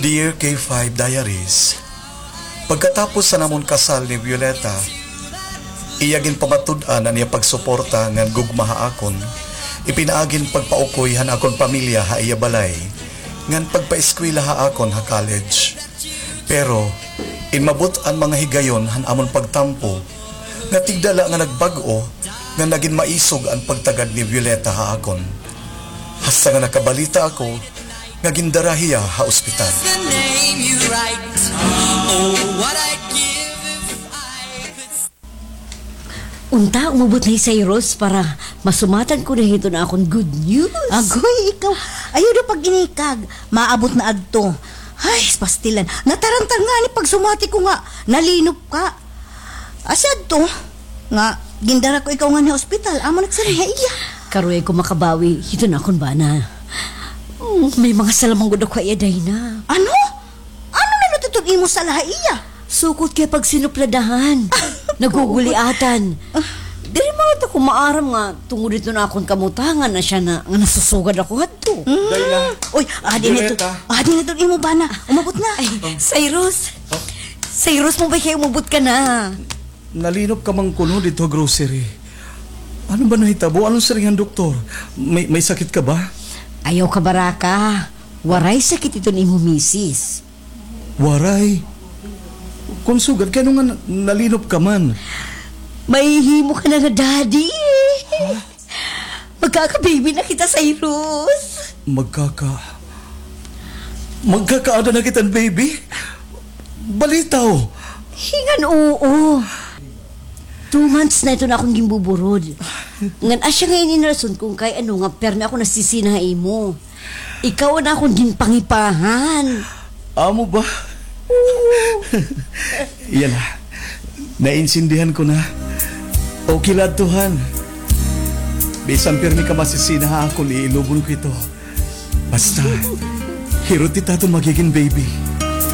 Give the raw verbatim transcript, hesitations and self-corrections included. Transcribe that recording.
Dear K five Diaries, pagkatapos han amon kasal ni Violeta, iya ginpamatud-an an iya pagsuporta ngan gugma ha akon, ipinaagi hin pagpaukoy han akon pamilya ha iya balay, ngan pagpaeskwela ha akon ha college. Pero, inmabot an mga higayon han amon pagtampo, nga tigda la nga nagbag-o, nga nagin maisog an pagtagad ni Violeta ha akon. Hasta nga nakabalita ako nga gindara hiya ha ospital. The name you write. Oh, what I'd give if I could. Unta, umabot na hi Cyrus para masumatan ko na hiton akon good news. Agoy, ikaw. Ayaw daw pag-inikag. Maabot na adto. Ay, pastilan. Nataranta ngani pagsumati ko nga nalinop ka. Asya adto nga gindara ko ikaw ngani ha ospital. Amo nagsiring ha iya. Karuy ko makabawi hiton akon bana. Mm, may mga sala man gud ako ha iya, Dayna. Ano? Ano na hiton imo sala ha iya? Sukot kay pagsinupladahan. Naguguliatan. Diri man ako maaram nga tungod hiton akon kamutangan asya na nga nasusugad ako hadto. Dayna. Uy, adi na hiton. Violeta. Adi na hiton imo bana. Umabot na. Ay, Cyrus. Cyrus, maupay kay umabot ka na. Nalinop ka man kuno didto ha grocery. Ano ba nahitabo? Ano siring han doktor? May, may sakit ka ba? Ayaw kabaraka. Waray sakit iton imo misis. Waray? Kon sugad, kay ano nga na-, nalinop ka man? Mahihimo ka na nga daddy. Ha? Magkaka-baby na kita, Cyrus. Magkaka-, magkakaada na kita hin baby? Balitaw. Hingan oo. Two months na iton akon ginbuburod. Ngan asya ngay-an an rason kon kay ano nga pirmi ako nasisina ha imo. Ikaw an akon ginpangipahan. Amo ba? Oo. Yana, naintindihan ko na. Okay la adto han. Bisan pirmi ka masisina ha akon, iilubon ko ito. Basta, hirot ita aton magigin baby.